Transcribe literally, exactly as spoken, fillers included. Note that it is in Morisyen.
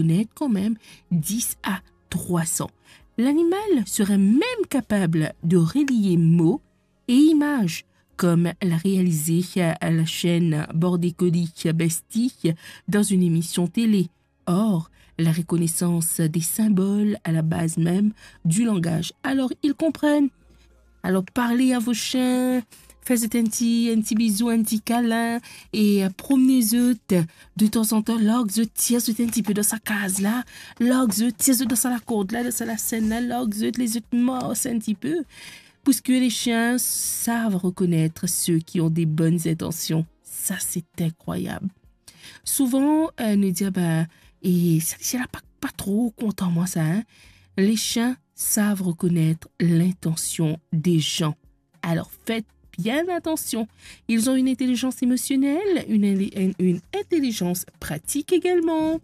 connaître quand même dix à trois cents. L'animal serait même capable de relier mots et images, comme l'a réalisé la chaîne Bordecolis Bestie dans une émission télé. Or, la reconnaissance des symboles à la base même du langage. Alors, ils comprennent. Alors, parlez à vos chiens, faites un petit, un petit bisou, un petit câlin, et euh, promenez-eux de temps en temps, larg zot, tir zot un petit peu dans sa case là, larg zot, tir zot dans sa lakour là, dans sa lasèn là, larg zot, les autres morse un petit peu. Parce que les chiens savent reconnaître ceux qui ont des bonnes intentions. Ça, c'est incroyable. Souvent, euh, nous dit, ah ben, et ça, c'est là pas, pas trop content, moi, ça, hein. Les chiens savent reconnaître l'intention des gens. Alors, faites bien attention. Ils ont une intelligence émotionnelle, une, une, une intelligence pratique également.